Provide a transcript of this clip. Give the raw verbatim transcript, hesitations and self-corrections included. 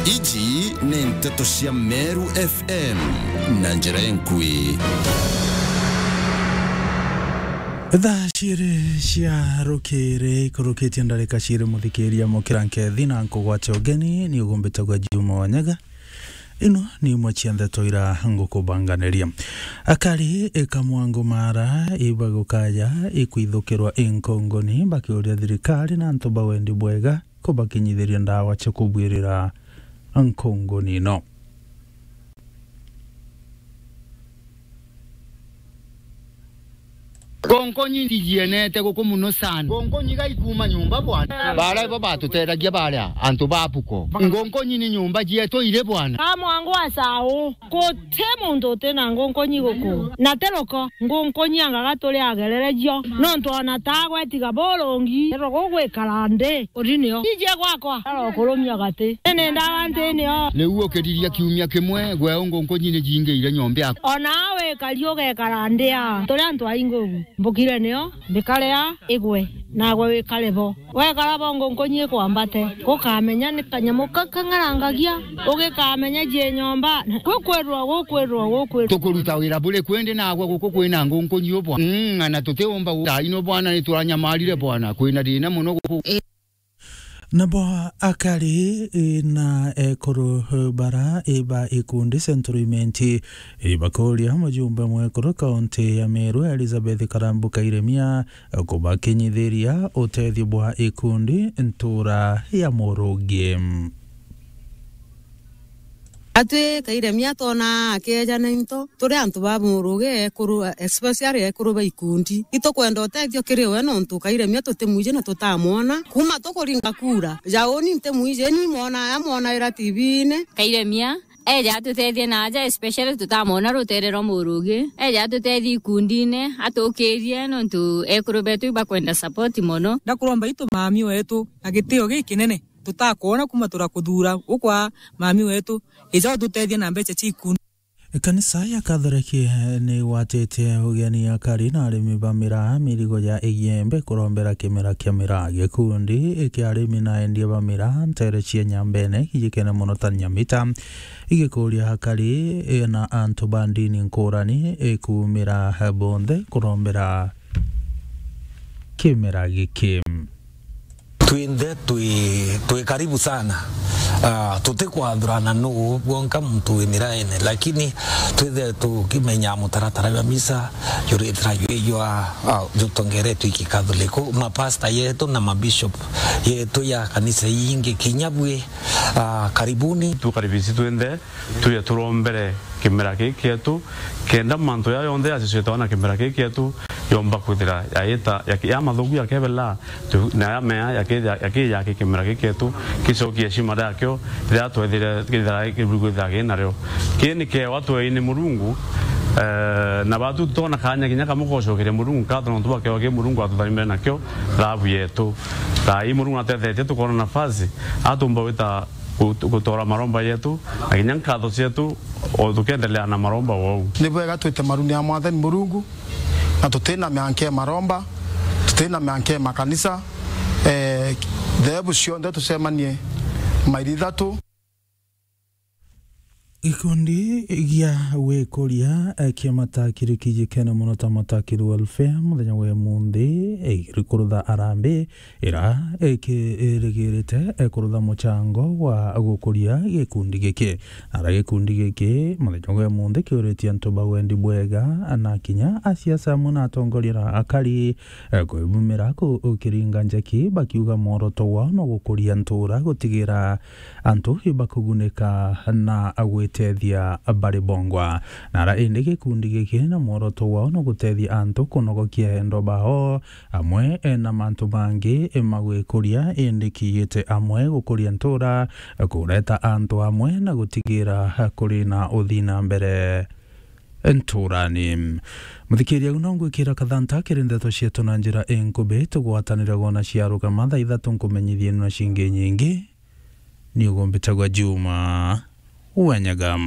Iji ni nteto cia Meru F M na njira enkui. Thaa ciiri cia rukiri ikurukitie ndarika ciiri, muthikiria, mukira nkethi na nkugwate ugeni, ni ugumbitagwa Juma Wanyaga. Ino ni imwe cia ndeto ira ngukubanganiria. Akari ikamwangu mara ibagukaya ikwithukirwa inkongoni, bakiuria thirikari na antu ba wendi bwega kubakinyithiria ndawa cia kubwirira nkongoni ino. Ngonkonyi ndigienete guku muno sana. Ngonkonyi gaikuuma nyumba bwana. Baria bo batutethagĩa baria antu ba Puko. Ngonkonyi ni nyumba cietu iri bwana. Kamwangu wa Saũ, guti muntu uti na ngonkonyi guku. Na ti ruko, ngonkonyi anga ga turi agerere cio. Nontu ona ta gwetiga burungi, ero gugwikara nthi, uri nio. Ije gwakwa, arokurumia gati. Ene ndawa nti nio. Riu ukiriria kiumia kimwe, gwe ngonkonyi ni jingiire nyomba yaku. Ona wikari ugekara nthi a, turi antu aingi ugu. Mbukire nio, mbikare a, igwe, nagwe wikare bo. Wekara bo ngonkonyi ikwambate, gukamenya ni kanyamu ka-, kang'arangagia, ugikamenya jie nyomba, gukwirwa, gukwirwa, gukwirwa. Tukuruta wira buri kwendi nagwe guku kwina ngonkonyi u bwana. Mm, na tutiumba gu-, thaino bwana, nituranyamarire bwana, kwina thina muno guku. Nabo akari, e, na ekuru, e, bara, e, ba ikundi Central Imenti, e, bakuria mujumbe mwekuru kaunti ya Meru Elizabeth Karambu Kairemia kubakinyithiria utethio bwa ikundi ntura ya Murugi. Atwi Kairemia twona akeejana into, turi antu ba Murugi ekuru, especially ekuru ba ikundi. Itukwenda utethio kiri we, nontu Kairemia tutimwiji na tutamwona. Kuuma tukuringa kura, ja uni ntimwiji, ni mwona, amwonaira T V-ini. Kairemia eja atutethie na aja, especially tutamwona rutere rwa Murugi. Eja atutethie ikundine, atukirie, nontu ekuru betu ibakwenda support mono. Ndakuromba itu mami wetu na gitio gikinene. Tutakwona kuuma turakuthura ukwa mami wetu, ija ututethie na mbeca cia ikundi. Kanisa ya Katholeki, eh, ni igwatite ugeni akari na arimi ba miraa mirigo ya igembe kurombera kimera kia miraa. Gikundi kia arimi na endia ba miraa ntere cia Nyambene kijikene mono ta Nyamita, igikuria akari, eh, na antu ba ndini nkurani, eh, kumira, eh, bonthe kurombera kimera giki. Twinthe twi, twi karibu sana. Ah, tutikwathurana nuu bwonka muntu wi miraene, lakini twithe tukimenya mutaratara jwa misa juritira jwijwa, ah, jutongeretwe iki Katholiku, mapasta yetu na mabishop yetu ya kanisa ingi kinya bwi, ah, karibuni. Tukaribisi twinthe. Tuye turombere kimera giki kietu, kenda mantu ya yonthe yacicwitwa na kimera giki kietu yomba kwithira yaita, yaki-, ya mathugu yakebela, tu-, na ya mea yakija, yakija ki kimera giki kietu, kicokie heshima yakio, riria twethire kithira kiburi kwithira ki nario. Ki ni kiewa tweini Murungu, eh, na batu tutona kanya kinya kamwe gocokeria Murungu nkatho nontu bwa kiewa ki Murungu atutharime nakio thabu yetu. Thaa ii Murungu natethetie tukona nafasi, atumba wita gu-, gutora maromba yetu, na kinya nkatho cietu, o tukiendelea na maromba wou. Ni bwega twite maruni ya Mwathani Murungu, na tutina mianke maromba, tutina mianke makanisa, eh, theebu cionthe tucemanie mairi ithatu. Gikundi gia wikuria, eh, kia Matakiri kijikene mono ta Matakiri Welfare, muthenya wa imunthi, eh, irikurutha arambi, ira ikirigirite, eh, kurutha muchango wa gukuria gikundi giki. Ara gikundi giki, muthenya wa imunthi, kiuritie antu ba wendi bwega, na kinya asiasa amwe na atongoria na akari, eh, kwibumira ku-, ukiringa njeki, bakiuga mworoto wao no gukuria ntura, gutigira antu ibakugunika na gwitethia bari bongwa. Nara indi gikundi giki na mworoto wao no gutethia antu kunogokia endo bao, amwe na mantu mangi magwikuria, indi kiite amwe gukuria ntura, kureta antu amwe na gutigira kuri na uthii na mbere nturani. Muthikiria, u no ngwikira kathanta kiri ndeto cietu na njira inkubi, tugwatanire gwona ciarugama thaa ithatu nkumenyithie na cingi nyingi. Ni ugumbitagwa Juma Wanyaga.